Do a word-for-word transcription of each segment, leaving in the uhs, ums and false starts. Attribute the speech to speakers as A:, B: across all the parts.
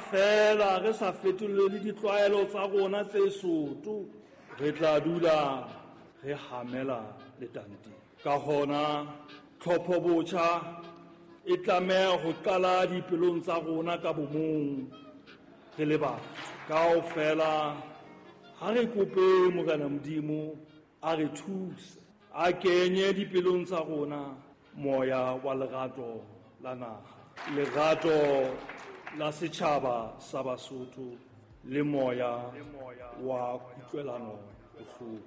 A: feela re sa fetolele ditlwaelo tsa rona tse soto, re tla dula re hamela letanteng. Ka hona, tlhopho botjha e tlameha ho qala dipelong tsa rona ka bomong re le batho. Kaofela ha re kope Morena Modimo a re thuse, a kenye dipelong tsa rona moya wa lerato la naha, lerato la setjhaba sa Basotho le moya wa kutlwelano bohloko.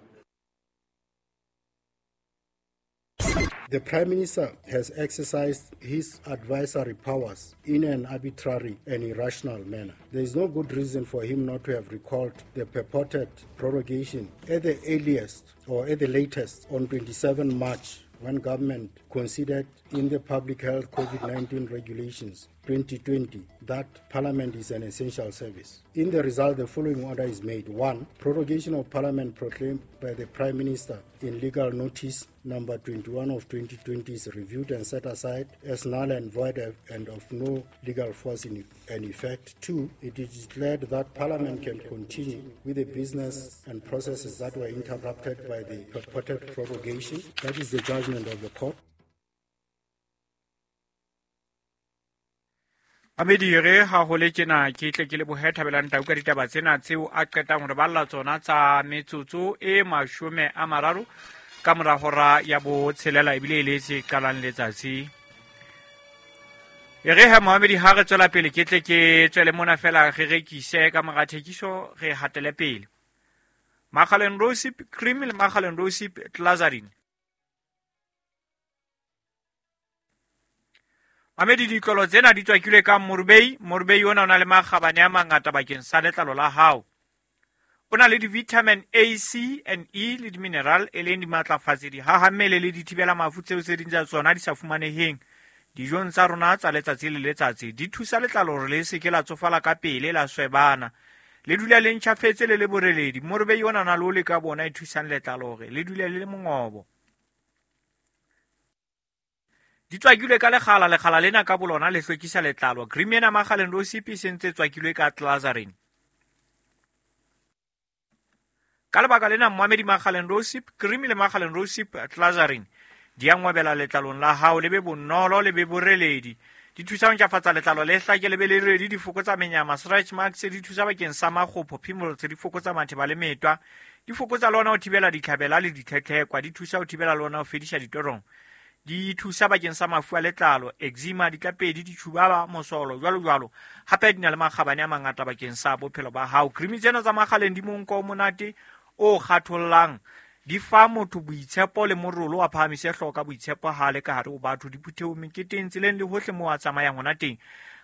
B: The Prime Minister has exercised his advisory powers in an arbitrary and irrational manner. There is no good reason for him not to have recalled the purported prorogation at the earliest or at the latest on twenty-seventh March, when government considered in the Public Health COVID nineteen Regulations twenty twenty that Parliament is an essential service. In the result, the following order is made. One, prorogation of Parliament proclaimed by the Prime Minister in legal notice number twenty-one of twenty twenty is reviewed and set aside as null and void and of no legal force in and effect. Two, it is declared that Parliament can continue with the business and processes that were interrupted by the purported prorogation. That is the judgment of the court.
C: Amedire ha ho le tjena ke tle ke le bohe Thabelang Tau ka ditaba tsena tseo a qetang hore balla tsona tsa metsotso e mashome a mararo ka mora hora ya botshelela ebile e le se qalang letsatsi. E re ha Mohamedi ha re tswela pele ke tle ke tswele mona fela re rekise ka mora thekiso re hatele pele. Makgaleng Rosip cream le Makgaleng Rosip Glazarin. Mamedi ditlolo tsena di tswakilwe ka morubei. Morubei ona o na le makgabane a mangata bakeng sa letlalo la hao. O na le di-vitamin A, C and E le di-mineral e leng dimatlafatsi, dihahammele le dithibela mafu tseo tse ding tsa tsona di sa fumaneheng dijong tsa rona tsa letsatsi le letsatsi. Di thusa letlalo hore le se ke la tsofala ka pele, la swebana, le dula le ntjhafetse le le boreledi. Morubei ona o na le ole ka bona e thusang letlalo hore le dule le le mongobo. Di tswakilwe ka lekgala, lekgala lena ka bolona le hlwekisa letlalo. Cream ena Makgaleng Rosip e sentse tswakilwe ka Glazarin. Ka lebaka lena Mohamedi Makgaleng Rosip cream le Makgaleng Rosip Glazarin di a ngwabela letlalong la hao, le be bonolo le be boreledi. Di thusa ho ntlafatsa letlalo le hlake le be le redi, di fokotsa menyama, stretch marks, di thusa bakeng sa makgopho, pimples, di fokotsa matheba le metwa, di fokotsa le ona ho thibela ditlhabela le ditlhetlhekwa, di thusa ho thibela le ona ho fedisa ditorong. Di thusa bakeng sa mafu a letlalo, eczema, ditlapedi, ditjhubaba, mosolo, jwalo jwalo. Hape di na le makgabane a mangata bakeng sa bophelo ba hao. Cream tsena tsa Makgaleng di monko o monate o kgathollang, di fa motho boitshepo le morolo, a phahamise hlooho ka boitshepo ha le ka hare ho batho, diphuthehong, meketeng, tseleng le hohle moo a tsamayang hona teng.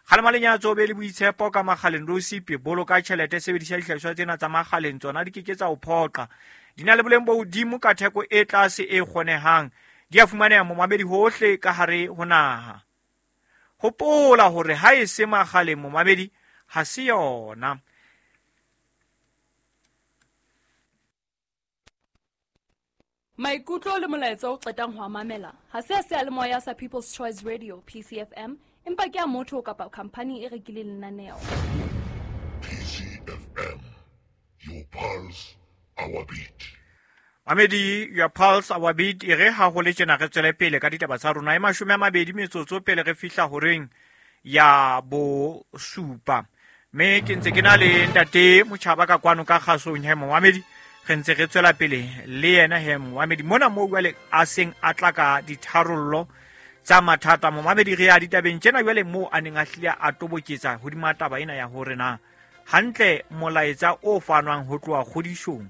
C: Kgalema lenyatso, be le boitshepo ka Makgaleng Rosip. Boloka tjhelete, sebedisa dihlahiswa tsena tsa Makgaleng, tsona di ke ke tsa o phoqa. Di na le boleng bo hodimo ka theko e tlase e kgonehang. Di a fumaneha momamedi hohle ka hare ho naha. Hopola hore ha e se Makgaleng momamedi ha se yona.
D: Maikutlo le molaetsa o qetang ho a mamela ha se a seyalemoya sa People's Choice Radio P C F M, empa ke a motho kapa khampani e rekileng lenaneo.
E: P C F M, your pulse, our beat.
C: Mamedi, your pulse, our beat. E re ha ho le tjena re tswele pele ka ditaba tsa rona e mashome a mabedi metsotso pele re fihla horeng ya bosupa. Mme ke ntse ke na le ntate Motjhaba ka kwano ka kgasong he Mohamedi, re ntse re tswela pele le yena he Mohamedi mona moo jwale a seng a tla ka ditharollo tsa mathata. Mohamedi re ya ditabeng tjena jwale moo a neng a hlile a toboketsa hodima taba ena ya hore na hantle molaetsa o fanwang ho tloha kgodisong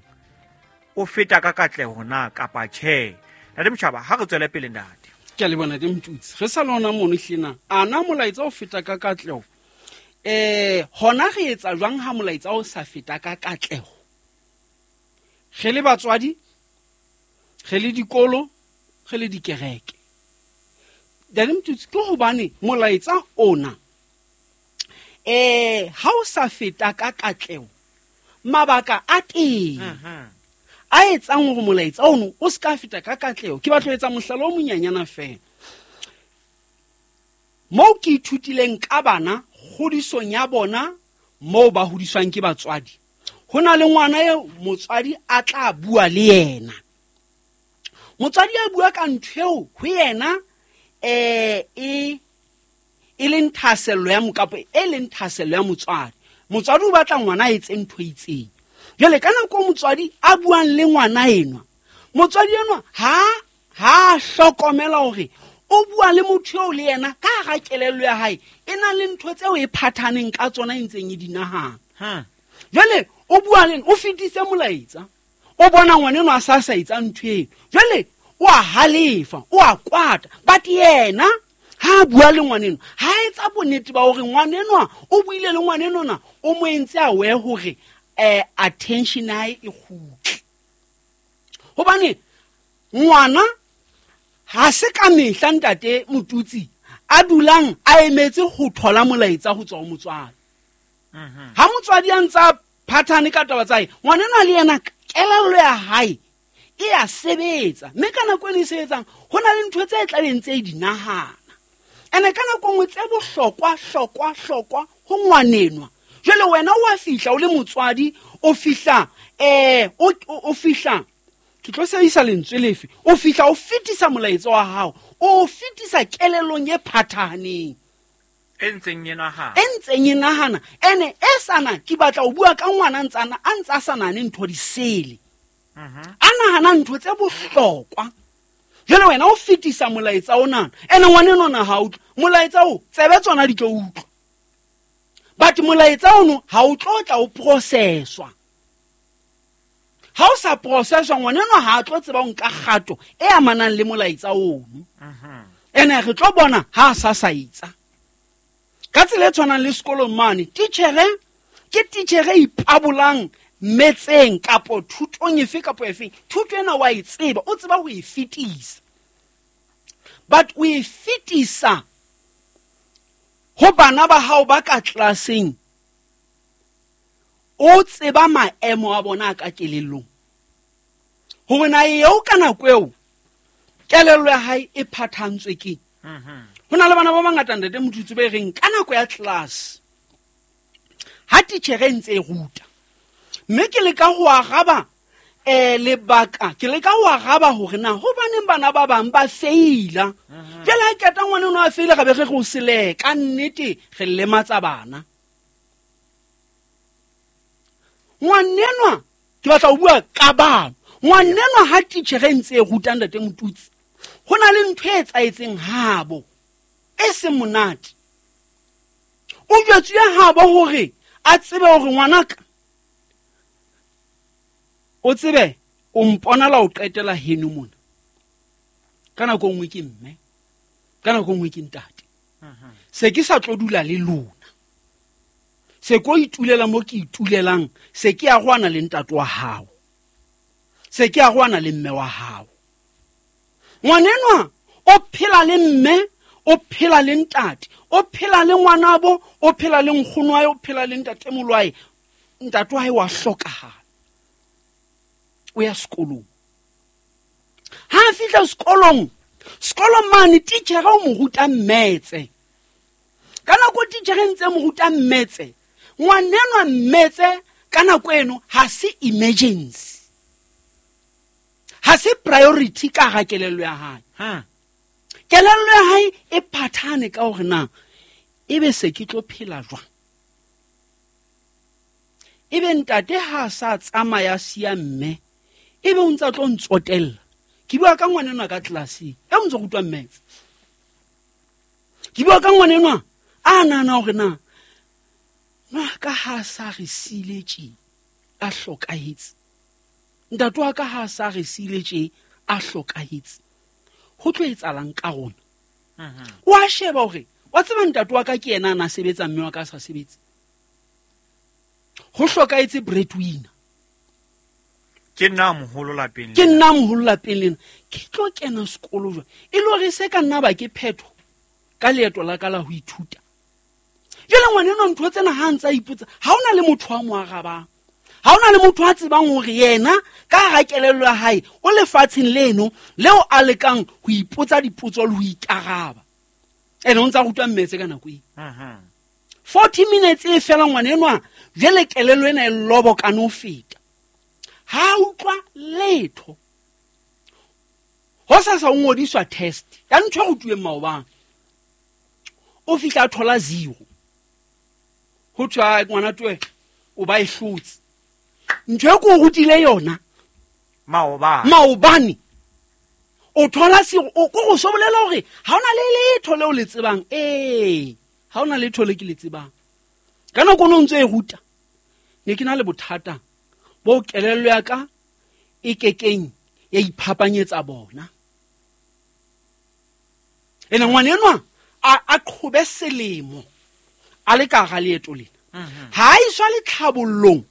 C: o feta ka katleho na kapa tjhe. Ntate Motjhaba, ha re tswele pele ntate.
F: Ke a leboha ntate Mtutsi. Re sa lona mono hlena. Ana molaetsa o feta ka katleho. Eh, hona re etsa jwang ha molaetsa o sa feta ka katleho? Re le batswadi, re le dikolo, re le dikereke. Ntate Mtutsi, ke hobane molaetsa ona eh ha o sa feta ka katleho, mabaka a teng.
C: Mhm.
F: A etsang hore molaetsa ono o se ka feta ka katleho. Ke batla ho etsa mohlala o monyanyana feela. Moo ke ithutileng ka bana kgodisong ya bona moo ba hodiswang ke batswadi ho na le ngwana eo motswadi a tla bua le yena motswadi a bua ka ntho eo ho yena eh e e leng thahasello ya mokapo e leng thahasello ya motswadi motswadi o batla ngwana a etse ntho e itseng jwale ka nako motswadi a buang le ngwana enwa motswadi enwa ha ha hlokomela hore o bua le motho eo le yena ka hara kelello ya hae e na le ntho tseo e phathaneng ka tsona e ntseng e di nahana jwale o bua le o fetise molaetsa o bona ngwana enwa a sa sa etsa ntho eno jwale o a halefa o a kwata but yena ha bua le ngwaneno ha etsa bonnete ba hore ngwanenwa o buile le ngwanenona o mo entse a we hore eh attention hae e kgutle hobane ngwana ha se ka mehla ntate Motutsi a dulang a emetse ho thola molaetsa ho tswa ho motswadi ha motswadi a ntsa phathane ka taba tsa hae ngwanenwa le yena kelello ya hae e a sebetsa mme ka nako e sebetsang ho na le ntho tse tlabeng tse di nahana ene ka nako nngwe tse bohlokwa hlokwa hlokwa ho ngwanenwa jwale wena o a fihla o le motswadi o fihla eh o o fihla ke tlo sebedisa lentswe lefe o fihla o fetisa molaetsa wa hao o fetisa kelellong e phathaneng
C: e ntseng e nahana
F: e ntseng e nahana ene e sana ke batla o bua ka ngwana ntsana a ntsa sa nane ntho di sele a nahana ntho tse bohlokwa jwale wena o fetisa molaetsa ona ene ngwanenona ha utlwe molaetsa o tsebe tsona di tlo utlwa but molaetsa ono ha o tlo tla o processwa ha o sa processwa ngwanenwa ha a tlo tseba o nka kgato e amanang le molaetsa ono ene re tlo bona ha a sa sa itsa ka tsela e tshwanang le sekolong mane titjhere ke titjhere e ipabolang metseng kapo thutong efe kapo efeng thuto ena wa e tseba o tseba ho e fetisa but o e fetisa ho bana ba hao ba ka tlelaseng o tseba maemo a bona ka kelellong hore na eo ka nako eo kelello ya hae e phathantswe ke ho na le bana ba bangata ntate Motutsi ba e reng ka nako ya class ha titjhere ntse e ruta mme ke leka ho araba eh lebaka ke leka ho araba hore na hobaneng bana ba bang ba feila jwale ha keta ngwana ono a feila ga be re go seleka nnete re lematsa bana ngwanenwa ke batla ho bua ka bana ngwanenwa ha titjhere ntse e ruta ntate Motutsi ho na le ntho e etsaetseng habo e seng monate o jwetsuwe habo hore a tsebe hore ngwanaka o tsebe o mponala o qetela heno mona ka nako nngwe ke mme ka nako nngwe ke ntate se ke sa tlo dula le lona se ko itulela mo ke itulelang se ke a gwana le ntate wa hao se ke a gwana le mme wa hao ngwanenwa o phela le mme o phela le ntate o phela le ngwanabo o phela le nkgono wa hae o phela le ntatemolo wa hae ntate wa hae wa hlokahala o ya sekolong ha a fihla sekolong sekolong mane titjhere o mo ruta mmetse ka nako titjhere ntse mo ruta mmetse ngwanenwa mmetse ka nako eno ha se emergency ha se priority ka hara kelello ya hae kelello ya hae e phathane ka hore na ebe se ke tlo phela jwang ebe ntate ha sa tsamaya siya mme ebe o ntsa tlo ntsotella ke bua ka ngwanenwa ka tlelaseng e o ntse rutwa mmetse ke bua ka ngwanenwa a nahana hore na ngaka ha sa re siile tje a hlokahetse ntate wa ka ha sa re siile tje a hlokahetse ho tlo etsalang ka rona o a sheba hore wa tseba ntate wa ka ke yena a na sebetsa mme wa ka a sa sebetse ho hlokahetse breadwinner
C: ke nna moholo lapeng
F: ke nna moholo lapeng lena ke tlo kena sekolo jwang e le hore se ka nna ba ke phetho ka leeto la ka la ho ithuta jwale ngwanenwa ntho tsena ha ntsa ipotsa ha ona le motho wa mo arabang ha ona le motho a tsebang hore yena ka hara kelello ya hae o lefatsheng leno leo a lekang ho ipotsa dipotso le ho ikaraba ene o ntsa rutwa mmetse ka nako eo forty minutes e fela ngwana enwa jwale kelello ena e lobokane ho feta. Ha utlwa letho. Ho sa sa ngodiswa test ya ntho e rutuweng maobane. O fihla a thola zero. Ho thwe ngwana twe o ba e hlotse. Ntho e ko rutile yona
C: maobane.
F: Maobane. O thola zero, o go so bolela hore ha ona le letho leo le tsebang. Eh, ha ona letho le ke le tsebang. Ka nako no ntse e ruta. Ne ke na le bothata bo kelello ya ka e kekeng ya iphapanyetsa bona. Ene ngwana enwa a a qhobe selemo a le ka ga leeto lena. Ha iswa le tlhabollong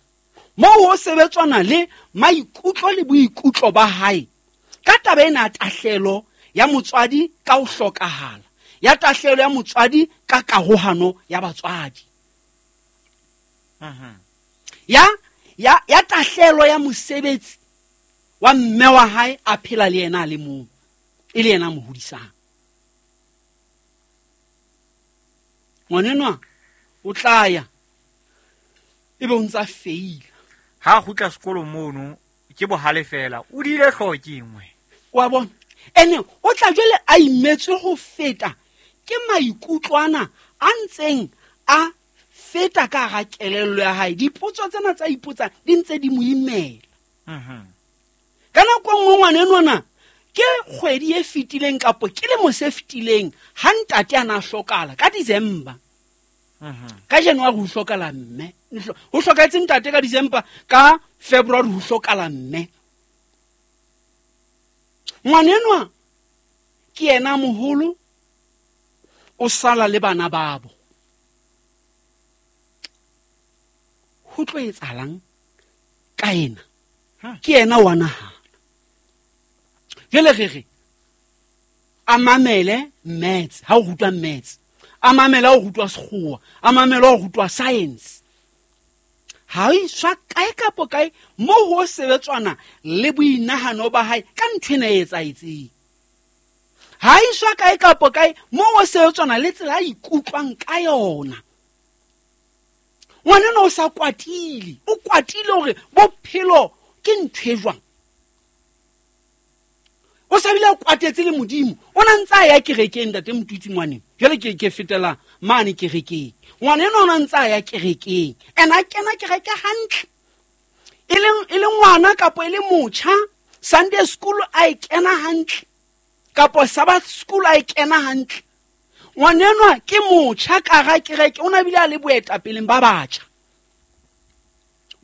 F: mo ho sebetswana le maikutlo le boikutlo ba hae ka taba ena tahlelo ya motswadi ka ho hlokahala, ya tahlelo ya motswadi ka karohano ya batswadi. Ya ya ya tahlelo ya mosebetsi wa mme wa hae a phela le yena le mong e le yena mo hodisang. Ngwanenwa o tla ya ebe o ntsa feila.
C: Ha kgutla sekolo mono ke bohale fela o dile hlooho ke engwe.
F: Wa bona ene o tla jwale a imetswe ho feta ke maikutlwana a ntseng a feta ka ga kelello ya hae. Dipotso tsena tsa ipotsa di ntse di mo imela.
C: Mhm.
F: Ka nako nngwe ngwana enwana ke kgwedi e fetileng kapo ke lemo se fetileng ha ntate ana hlokala ka December.
C: Mhm.
F: Ka January ho hlokala mme. Ho hlokahetse ntate ka December, ka February ho hlokala mme. Ngwana enwa ke yena moholo o sala le bana babo. Ho tlo etsahalang ka ena? Ke yena wa naha. Jwale re re a mamele maths ha o rutwa maths, a mamele ha o rutwa sekgowa, a mamele ha o rutwa science. Ha iswa kae kapo kae mo ho sebetswana le boinahano ba hae ka ntho ena e etsahetseng. Ha iswa kae kapo kae mo ho sebetswana le tsela a ikutlwang ka yona. Ngwana o sa kwatile, o kwatile hore bophelo ke ntho e jwang. O sa bile o kwatetse le Modimo. O na ntsa ya kerekeng ntate Motutsi ngwaneng. Jwale ke ke fetela mane kerekeng. Ngwana ena o na ntsa ya kerekeng. Ena kena kereke hantle. E le e le ngwana kapo e le motjha, Sunday school a e kena hantle. Kapo Sabbath school a e kena hantle. Ngwana enwa ke motjha ka ga kereke, o na bile a le boetapeleng ba batjha.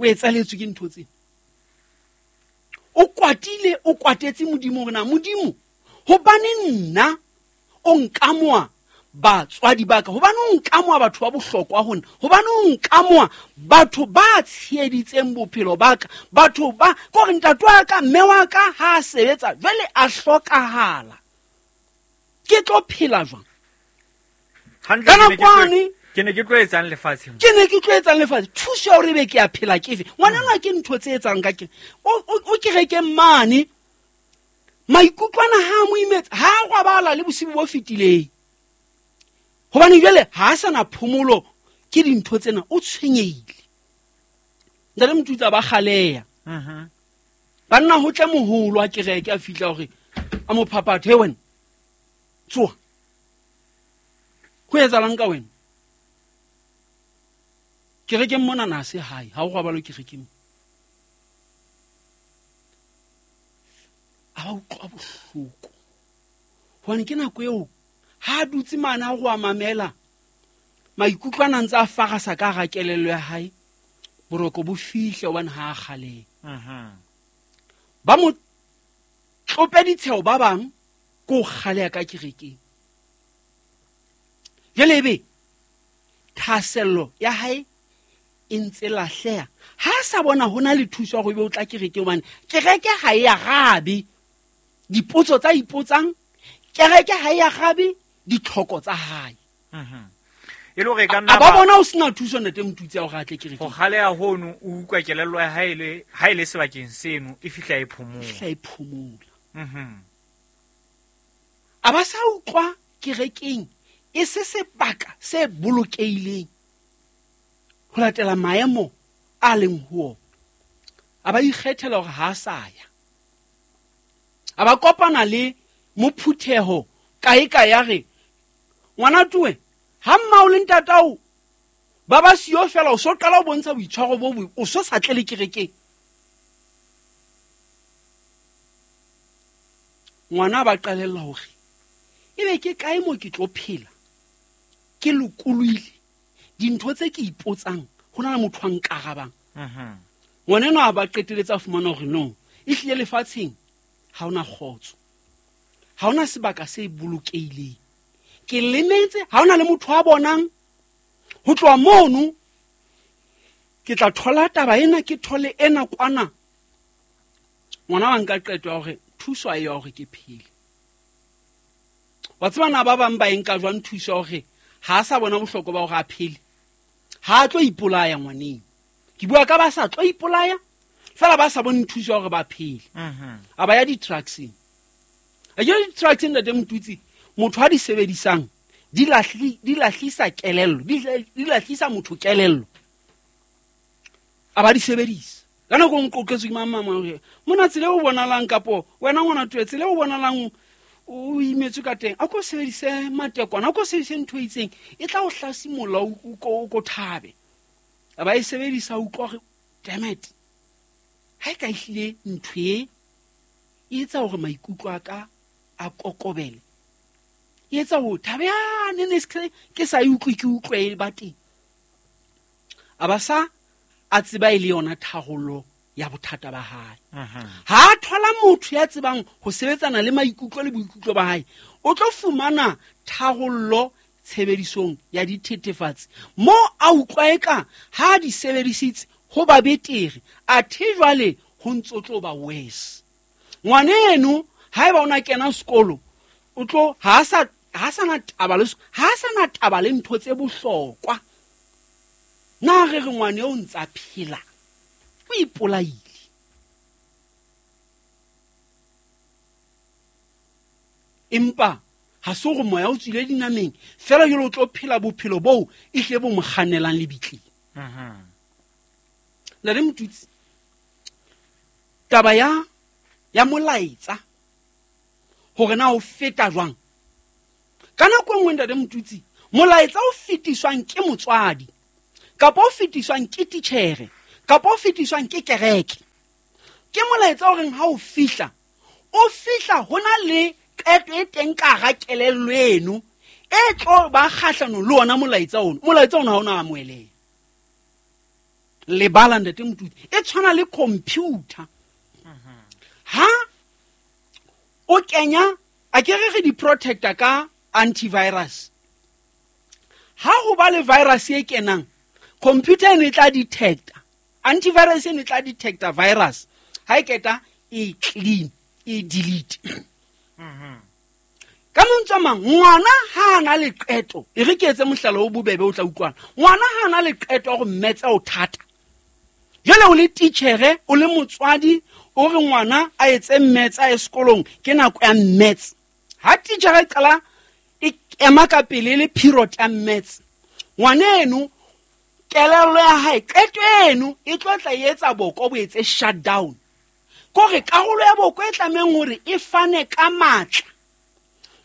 F: O etsaletswe ke ntho tsena. O kwatile, o kwatetse Modimo hore na Modimo hobane nna o nkamoa batswadi ba ka, hobane o nkamoa batho ba bohlokwa ho nna, hobane o nkamoa batho ba tsheheditseng bophelo ba ka, batho ba kore ntate wa ka mme wa ka ha a sebetsa jwale a hlokahala, ke tlo phela jwang?
C: Hantle ke ne ke tlo etsang lefatsheng,
F: ke ne ke tlo etsang lefatshe. Thuso ya hore be ke a phela ke efe? Ngwana ke ntho tse etsang ka ke o kerekeng mane maikutlwana ha mo imetse ha gwabala le bosibu bo fetileng, hobane jwale ha a sana phomolo ke dintho tsena, o tshwenyehile. Ntate Motutsi ba kgaleya.
C: Mhm.
F: Banna ho tle moholo a kereke a fihla hore a mo phaphathe, he wena tsoha, ho etsahalang ka wena? Kerekeng mona na se hae, ha o gwabalo kerekeng. A ba utlwa bohloko hobane ke nako eo ha a dutse mane a go a mamela maikutlwana ntse a farasa ka ga kelello ya hae, boroko bo fihle hobane ha a kgaleha.
C: Mhm.
F: Ba mo tlope ditsheo ba bang ko kgaleha ka kerekeng. Jwale ebe thahasello ya hae e ntse lahleha. Ha sa bona hona le thuso ya hore o tla kereke, hobane kereke ha e arabe dipotso tsa ipotsang, kereke ha e arabe ditlhoko tsa hae.
C: Mhm. E le hore ka nna
F: ba bona o sena thuso ntate Motutsi ya hore a tle kerekeng.
C: Ho kgaleha hono o utlwa kelello ya hae le ha e le sebakeng seno e fihla e phomola.
F: Fihla e phomola.
C: Mhm.
F: A ba sa utlwa kerekeng e se sebaka se bolokehileng. ho latela maemo a leng ho a ba ikgethela hore ha a sa ya a ba kopana le mophutheho kae kae ya re ngwana tuwe ha mmao le ntatao ba ba siyo fela o so qala o bontsha boitshwaro bo bo o so sa tle le kerekeng ngwana ba qalella hore ebe ke kae mo ke tlo phela ke lokolohile dintho tse ke ipotsang ho na le motho a nkarabang
C: mhm
F: ngwana eno a ba qeteletse a fumana hore no e hlile lefatsheng ha ona kgotso ha ona sebaka se bolokehileng ke lemetse ha ona le motho a bonang ho tloha mono ke tla thola taba ena ke thole ena kwana ngwana wa nka qeto ya hore thuso a ya hore ke phele wa tseba na ba bang ba e nka jwang thuso ya hore ha a sa bona bohlokwa ba hore a phele ha a tlo ipolaya ngwaneng ke bua ka ba sa tlo ipolaya fela ba sa bone thuso ya hore ba phele
C: mhm
F: a ba ya di-truckseng a ke di-truckseng ntate Motutsi motho a di sebedisang di lahli di lahlisa kelello di di lahlisa motho kelello a ba di sebedisa ka nako e nqoqetswe ke mang mang hore mona tsela e o bonalang kapo wena ngwana tuwe tsela e o bonalang o imetswe ka teng a ko sebedise matekwana a ko sebedise ntho e itseng e tla o hlasimolla o o ko o ko thabe a ba e sebedisa o utlwa hore damn it ha e ka ehlile ntho e e etsa hore maikutlo a ka a kokobele e etsa hore thabe yane ne se ke sa e utlwe ke utlwe e ba teng a ba sa a tseba e le yona tharollo ya bothata ba hae
C: mhm
F: ha a thola motho ya tsebang ho sebetsana le maikutlo le boikutlo ba hae o tlo fumana tharollo tshebedisong ya dithethefatsi mo a utlwa eka ha a di sebedisitse ho ba betere athe jwale ho ntso tlo ba worse ngwaneno haeba o na kena sekolo o tlo ha a sa ha sa na taba le ha sa na taba le ntho tse bohlokwa na re re ngwane o ntsa phela o ipolaile empa ha se hore moya o tswile dinameng fela jwale o tlo phela bophelo boo e hle bo mo kgannelang lebitleng
C: mhm
F: Ntate Motutsi taba ya ya molaetsa hore na o feta jwang ka nako e nngwe ntate Motutsi molaetsa o fetiswang ke motswadi kapa o fetiswang ke titjhere kapa o fetiswang ke kereke ke molaetsa o reng ha o fihla o fihla ho na le qeto e teng ka hara kelello eno e tlo ba kgahlano le ona molaetsa ono molaetsa ono ha o na amoheleha lebala ntate Motutsi e tshwana le computer ha o kenya a ke re re di-protector ka antivirus ha ho ba le virus e kenang computer eno e tla detecta antivirus eno e tla detecta virus ha e keta e clean e delete ka mantswe a mang ngwana ha a na le qeto e re ke etse mohlala o bobebe o tla utlwana ngwana ha a na le qeto ya hore mmetse o thata jwale o le titjhere o le motswadi o re ngwana a etse mmetse a ye sekolong ke nako ya mmetse ha titjhere e qala e ema ka pele e le period ya mmetse ngwana eno kelello ya hae qeto eno e tlo tla e etsa boko bo etse shutdown kore karolo ya boko e tlamehang hore e fane ka matla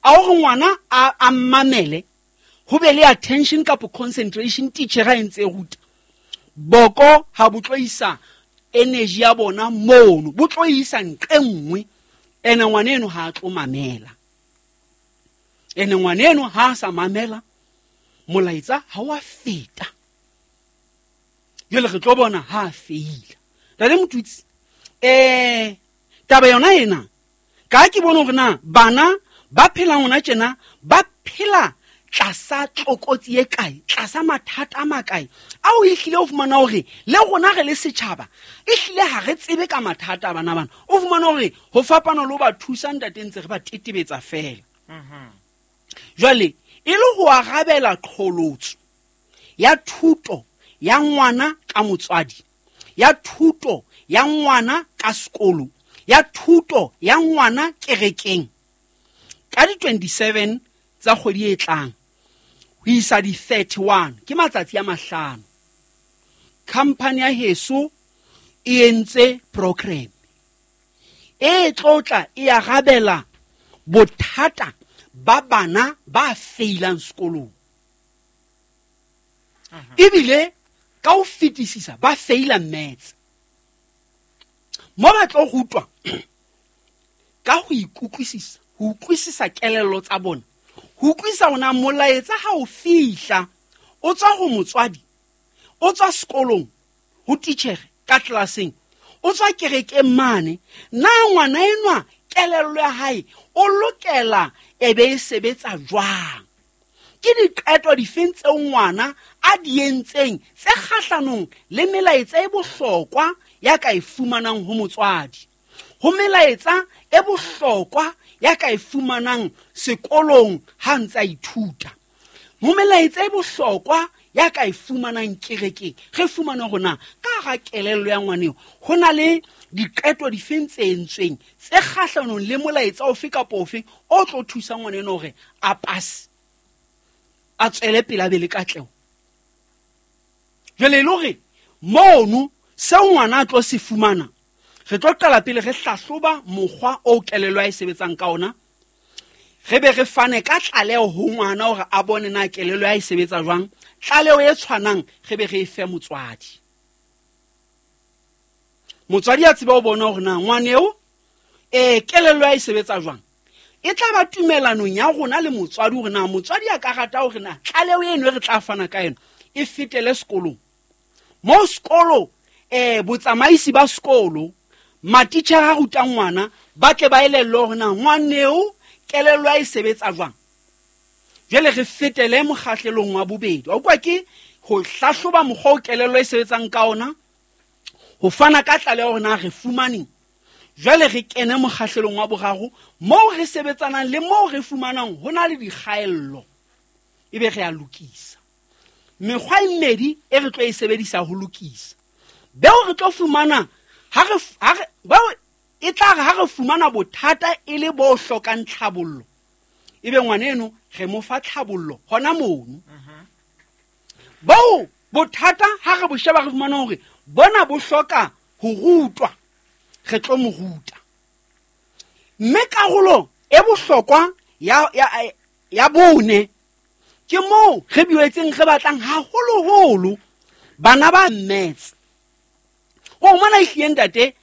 F: a hore ngwana a a mamele ho be le attention kapa concentration teacher e ntse e ruta boko ha bo tlo isa energy ya bona mono bo tlo isa nqe nngwe ene ngwana eno ha a tlo mamela ene ngwana eno ha a sa mamela molaetsa ha wa feta jwale re tlo bona ha a feila ntate Motutsi eh taba yona ena ka ke bone hore na bana ba phelang hona tjena ba phela tlasa tlokotsi e kae tlasa mathata a makae ao e hlile o fumana hore le rona re le setjhaba e hlile ha re tsebe ka mathata a bana bana o fumana hore ho fapana le ho ba thusa ntate ntse re ba tetebetsa fela jwale e le ho arabela qholotso ya thuto ya ngwana ka motswadi ya thuto ya ngwana ka sekolo ya thuto ya ngwana kerekeng ka di twenty-seven tsa kgwedi e tlang ho isa di thirty-one ke matsatsi a mahlano Company ya heso e entse program e tlotla e arabela bothata ba bana ba failang sekolong, ebile ka ho fetisisa ba faila maths. Mo ba tlo rutwa ka ho ikutlwisisa, ho utlwisisa kelello tsa bona, ho utlwisisa hore na molaetsa ha o fihla o tswa ho motswadi, o tswa sekolong ho titjhere ka tlelaseng, o tswa kerekeng mane, na ngwana enwa kelello ya hae o lokela e be e sebetsa jwang? Ke diqeto difeng tseo ngwana a di entseng tse kgahlanong le melaetsa e bohlokwa ya ka e fumanang ho motswadi, ho melaetsa e bohlokwa ya ka e fumanang sekolong ha ntse a ithuta, ho melaetsa e bohlokwa ya ka e fumanang kerekeng? Re fumane hore na ka hara kelello ya ngwaneo ho na le diqeto difeng tse entsweng tse kgahlanong le molaetsa ofe kapa ofe o tlo thusa ngwana eno hore a pase, a tswele pele, a be le katleho. Jwale e le hore mono seo ngwana a tlo se fumana, re tlo qala pele re hlahloba mokgwa o kelello ya e sebetsang ka ona, re be re fane ka tlaleho ho ngwana hore a bone na kelello ya e sebetsa jwang. Tlaleho e tshwanang re be re e fe motswadi. Motswadi a tsebe ho bona hore na ngwaneo eh kelello ya e sebetsa jwang. E tla ba tumellanong ya rona le motswadi hore na motswadi a ka rata hore na tlaleho eno e re tla fana ka yona e fetele sekolong. Mo sekolo eh botsamaisi ba sekolo, matitjhere a rutang ngwana ba tle ba elellwe hore na ngwaneo kelello ya e sebetsa jwang. Jwale re fetele mokgahlelong wa bobedi. Wa utlwa, ke ho hlahloba mokgwa o kelello e sebetsang ka ona, ho fana ka tlaleho hore na re fumaneng. Jwale re kene mokgahlelong wa boraro moo re sebetsanang le moo re fumanang ho na le dikgaello, ebe re a lokisa. Mekgwa e mmedi e re tlo e sebedisa ho lokisa. Beo re tlo fumana ha re, ha re, beo e tla re ha re fumana bothata e le bo hlokang tlhabollo, ebe ngwana eno re mo fa tlhabollo hona mono. Boo bothata ha re bo sheba re fumana hore bona bo hloka ho rutwa, re tlo mo ruta. Mme karolo e bohlokwa ya, ya, ya bone ke moo re boetseng re batlang haholoholo bana ba maths. O mona ehlile ntate